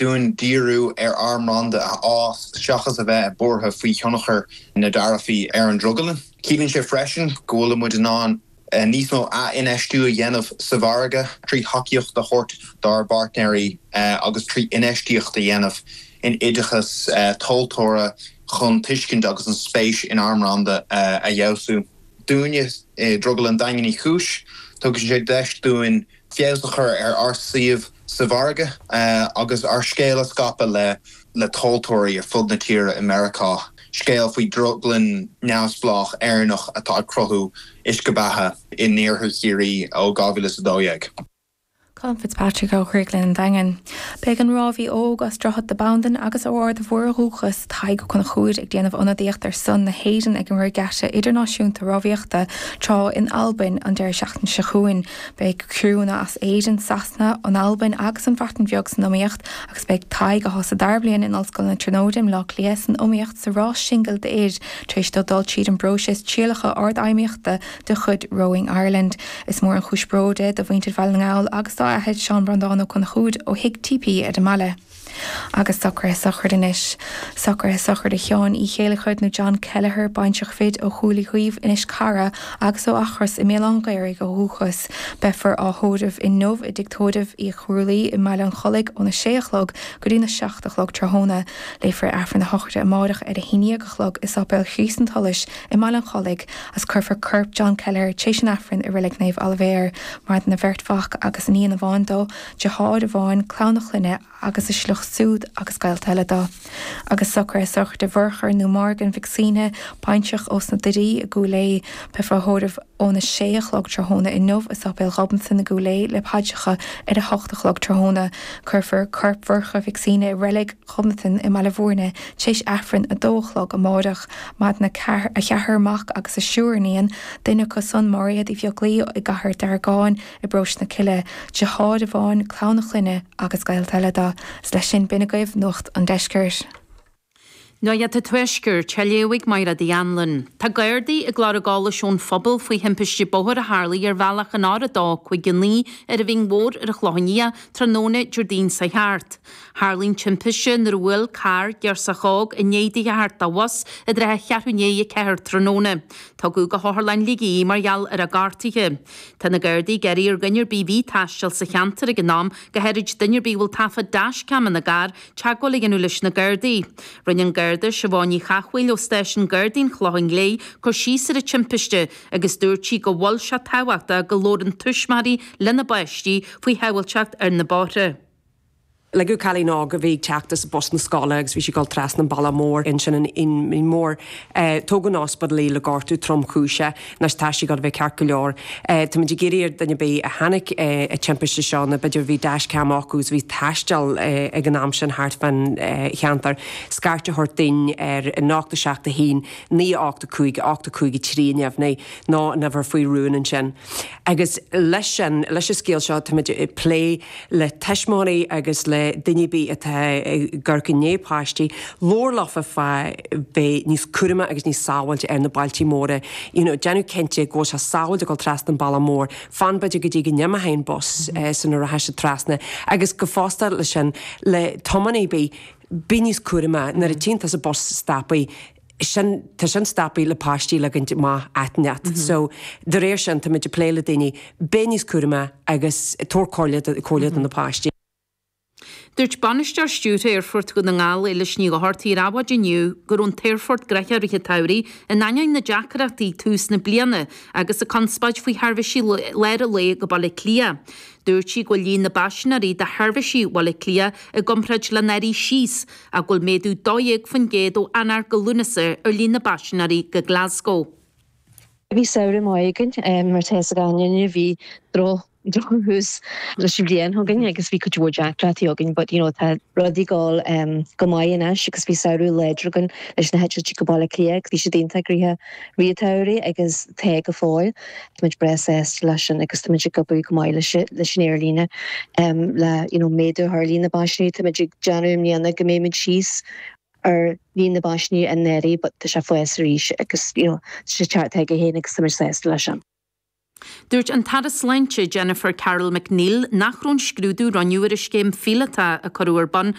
dúinn díriú ar ár mbranda a fhás seachas a bheith buartha faoi thionchar na dtaraifí ar an drioglann. Ciallaíonn sé freisin go bhfuil muid in ann níos mó ath-infheistiú a dhéanamh sa mhargadh trí thacaíocht a thabhairt dár bpáirtnéirí agus trí infheistíocht a dhéanamh in oideachas tomhaltóra chun tuiscint agus an spéis in ár mbranda a fheabhsú. Dúinne i Drioglann Daingean Uí Chúis, tugann sé deis dúinn feabhas a chur ar ár suíomh sa mhargadh agus ár scéal a scaipeadh le le tomhaltóirí ar fud na tíre i Meiriceá, scéal faoi dhrioglann neamhspleách Éireannach atá ag cruthú uisce beatha in iarthar Chiarraí ó 2012. Colm Fitzpatrick ó Dhrioglann an Daingin. Beidh an rámhaí óg as Droichead na Bandan agus ó Ard a' Mhuire ó dhúchas, Tadhg Ó Conchúir, ag déanamh ionadaíocht ar son na hÉireann ag an Regatta Idirnáisiúnta Rámhaíochta Trá in Albain an deireadh seachtaine seo chugainn. Beidh criúnna as Éirinn, Sasana, an Albain agus an Bhreatain Bheag san iomaíocht agus beidh Tadhg, atá sa dara bliain in Ollscoil na Tríonóide i mBleá Cliath, san iomaíocht sa rás singil d'fhir tar éis dó dul tríd an bpróiseas trialacha ardfheidhmíochta de chuid Rowing Ireland. Is mór an chúis bróid é do mhuintir Bhaile na nGall agus dá athair, Seán Breandán Ó Conchúir, ó Thigh TP ar an mbaile. Agus socruithe sochraide anois. Socruithe sochraide Sheáin Uí Chéilleachair nó John Kelleher, baintreach Bhid ó Chúil Uí Chaoimh, Inis Cara agus ó Eachros i mBéal Átha an Ghaorthaidh ó dhúchas. Beifear á thórramh inniu i dTigh Tórraimh Uí Chrualaoi i mBaile an Chollaigh óna sé a chlog go dtína 7 a chlog tráthnóna. Léifear Aifreann a shochraide amáireach ar a haon dhéag a chlog i Sáipéal Chríost an tSolais i mBaile an Chollaigh agus cuirfear corp John Kelleher tar éis an Aifrinn i Reilig Naomh Oilibhéar. Maireann a bheirt mhac agus iníon amháin dó, deartháir amháin, clann a chlainne agus a shliocht siúd agus gaolta eile dó. Agus socruithe sochraide Mhurchadh nó Morgan Mhic Suibhne, baintreach ós na Doirí i gCúil Aodha. Beifear á thórramh óna sé a chlog tráthnóna inniu i Sáipéal Ghobnatan i gCúil Aodha le paidreacha ar a hocht a chlog tráthnóna. Cuirfear corp Mhurchadh Mhic Suibhne i Reilig Ghobnatan i mBaile Bhúirne tar éis Aifreann a dó a chlog amáireach. Maireann a cheathrar mac agus a triúr iníon, duine acu san Máiréad Uí Bheaglaoi i gCathair Deargáin i bparóiste na Cille, deartháir amháin, clann a chlainne agus gaolta eile dó. Is leis sin, b'in agaibh Nuacht an Deiscirt. Nuacht an Tuaiscirt, á léamh ag Mairéad Uí Anluain. Tá Gardaí ag lorg eolais ón phobal faoi thimpiste bóthair a tharlaigh ar bhealach an R259 ar an Bhinn Mhór ar an Chlochán Liath tráthnóna Déardaoin seo thart. Tharlaigh an timpiste nuair a bhuail carr girseach óg i ndiaidh di a theacht de bhus i dtrátha cheathrú i ndiaidh 4 tráthnóna. Tugadh go hOtharlann Shligigh í mar gheall ar a gortuithe. Tá na Gardaí ag iarraidh ar dhuine ar bith a bhí ag taisteal sa cheantar ag an am, go háirid duine ar bith a bhfuil taifead dashcam ina gcarr, teagmháil a dhéanamh leis na Gardaí. Rinne an Garda Siobhán Ní Chathmhaoil ó Stáisiún Gardaí an Chlocháin Léith cur síos ar an timpiste agus dúirt sí go bhfuil sé tábhachtach go labhrann tuismitheoirí lena bpáistí faoi shábháilteacht ar na bóithre. Ligeadh cailín óg a bhí ag teacht as bus na scoile agus bhí sí ag dul trasna an bealach mór ansin an Bhinn Mhór. Tógadh 'on ospidéal í le gortú tromchúiseach. Anois tá sí ag dul a bheith ceart go leor. Táimid ag iarraidh ar duine ar bith a chonaic an timpiste seo nó b'fhéidir bhí dashcam acu agus bhí ag taisteal ag an am sin thart fán cheantar, scairt a thabhairt dúinn ar 0 7 1 9 8 5 8 5 3 neamhní nó an uimhir faoi rún ansin. Agus leis sin, leis an scéal seo, táimid ag plé le tuismitheoirí agus le duine ar bith atá ag amharc i ndiaidh páistí, labhair leofa fá bheith níos cúramaí agus níos sábháilte ar na bailte móra. You know, déanamh cinnte go bhfuil sé sábháilte ag dul trasna an bealach mór, fan b'fhéidir go dtí go n-imeoidh an bus sula rachaidh siad trasna. Agus go fosta leis sin, le tiománaí ar bith, bí níos cúramaí nuair a tchíonn tusa bus stoptha, sin, tá sin stoptha le páistí a ligint amach áit inteacht. So, de réir sin, táimid ag plé le daoine, beith níos cúramaí agus tabhair comhairle, comhairle do na páistí. Dúirt Bainisteoir Stiúrtha Aerfort Dhún na nGall, Éilis Ní Dhochartaigh ar Adhmhaidin inniu go raibh an t-aerfort gnoitheach i rith an tsamhraidh in ainneoin na deacrachtaí ag tús na bliana agus an conspóid faoi sheirbhísí lár an lae go Baile Átha Cliath. Dúirt sí go bhfuil líon na bpaisinéirí do sheirbhísí Bhaile Átha Cliath i gcomparáid le anuraidh síos ach go bhfuil méadú 12% ó Eanáir go Lúnasa ar líon na bpaisinéirí go Glasgow. Bhí samhradh maith againn, mar tá fhios ag gach éinne, bhí droch drochthús leis an bhliain againn agus bhí cuid mhór deacrachtaí againn but you know tá rudaí ag dul go maith anois agus bhí samhradh láidir againn leis na heitiltí go Baile Átha Cliath agus bhí siad iontach gnoitheach i rith an tsamhraidh agus tá go fóill. Táimid breá sásta leis sin agus táimid ag obair go maith leis leis an aerlíne le you know méadú a chur ar líon na bpaisinéirí. Táimid ag déanamh i mbliana go mbeimid síos ar líon na bpaisinéirí anuraidh but tá sé ag fás arís agus you know tá sé ag teacht chuige féin agus táimid sásta leis sin. Dúirt an tAire Sláinte Jennifer Carroll MacNeill nach raibh an scrúdú a rinneadh ar an scéim phíolótach a cuireadh ar bun.